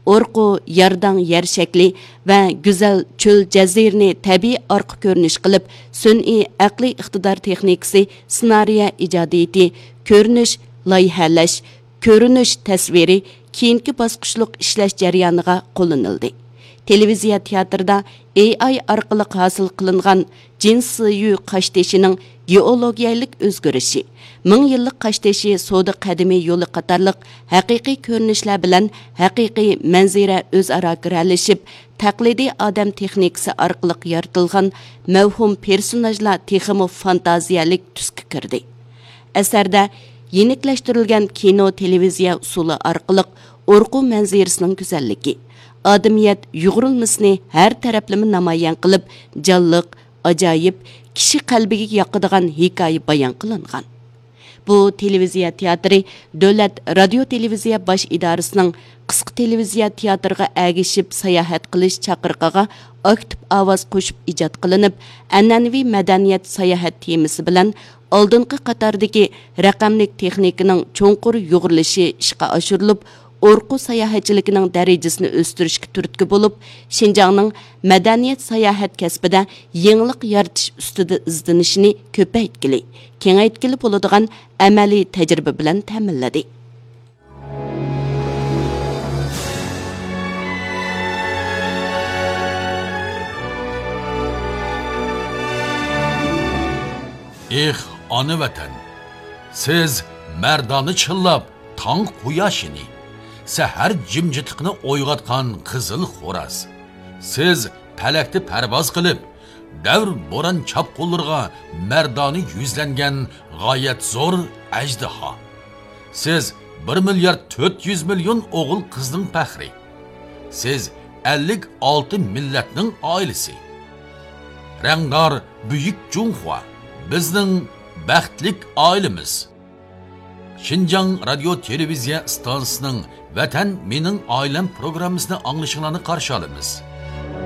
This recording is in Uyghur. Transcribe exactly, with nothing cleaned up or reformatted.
ئورقۇ يارداڭ يەر شەكلى ۋە گۈزەل چۆل جەزىرىنى تەبىئىي ئارقا كۆرۈنۈش قىلىپ، سۈنئىي ئەقلىي ئىقتىدار تېخنىكىسى، سېنارىيە ئىجادىيىتى، كۆرۈنۈش، لايىھەلەش، كۆرۈنۈش تەسۋىرى كېيىنكى باسقۇچلۇق ئىشلەش جەريانىغا قوللىنىلدى. تېلېۋىزىيە تىياتىرىدا ئېي ئاي ئارقىلىق ھاسىل قىلىنغان جىن سىيۈ قاشتېشىنىڭ گېئولوگىيەلىك ئۆزگىرىشى، مىڭ يىللىق قاشتېشى سودا قەدىمىي يولى قاتارلىق ھەقىقىي كۆرۈنۈشلەر بىلەن ھەقىقىي مەنزىرە ئۆزئارا گىرەلىشىپ، تەقلىدىي ئادەم تېخنىكىسى ئارقىلىق يارىتىلغان مەۋھۇم پېرسوناژلار تېخىمۇ فانتازىيەلىك تۈسكە كىردى. ئەسەردە يېنىكلەشتۈرۈلگەن كىنو، تېلېۋىزىيە ئۇسۇلى ئارقىلىق ئورقۇ مەنزىرىسىنىڭ گۈزەللىكى، ئادىمىيەت يۇغۇرۇلمىسىنى ھەر تەرەپلىمە نامايان قىلىپ، جانلىق، ئاجايىپ، كىشى قەلبىگە ياقىدىغان ھېكايە بايان قىلىنغان. بۇ تېلېۋىزىيە تىياتىرى دۆلەت رادىيو تېلېۋىزىيە باش ئىدارىسىنىڭ قىسقا تېلېۋىزىيە تىياتىرىغا ئەگىشىپ ساياھەت قىلىش چاقىرىقىغا ئاكتىپ ئاۋاز قوشۇپ ئىجاد قىلىنىپ، ئەنئەنىۋى مەدەنىيەت ساياھەت تېمىسى بىلەن ئالدىنقى قاتاردىكى رەقەملىك تېخنىكىنىڭ چوڭقۇر يۇغۇرۇلۇشى ئىشقا ئاشۇرۇلۇپ، ئورقۇ ساياھەتچىلىكىنىڭ دەرىجىسىنى ئۆستۈرۈشكە تۈرتكە بولۇپ، شىنجاڭنىڭ مەدەنىيەت ساياھەت كەسپىدە يېڭىلىق يارىتىش ئۈستىدە ئىزدىنىشىنى كۆپەيتكىلى، كېڭەيتكىلى بولىدىغان ئەمەلىي تەجرىبە بىلەن تەمىنلىدى. ئېھ، ئانا ۋەتەن! سىز مەردانە چىللاپ تاڭ قۇياشىنى، سەھەر جىمجىتلىقىنى ئويغاتقان قىزىل خوراز. سىز پەلەكتە پەرۋاز قىلىپ، دەۋر بوران چاپقۇنلىرىغا مەردانە يۈزلەنگەن غايەت زور ئەجدىھا. سىز بىر مىليارد تۆت يۈز مىليون ئوغۇل قىزنىڭ پەخرى. سىز ئەللىك ئالتە مىللەتنىڭ ئائىلىسى. رەڭدار بۈيۈك جۇڭخۇا، بىزنىڭ بەختلىك ئائىلىمىز. شىنجاڭ رادىيو تېلېۋىزىيە ئىستانسىسىنىڭ ۋەتەن مېنىڭ ئائىلەم پروگراممىسىنى ئاڭلىشىڭلارنى قارشى ئالىمىز.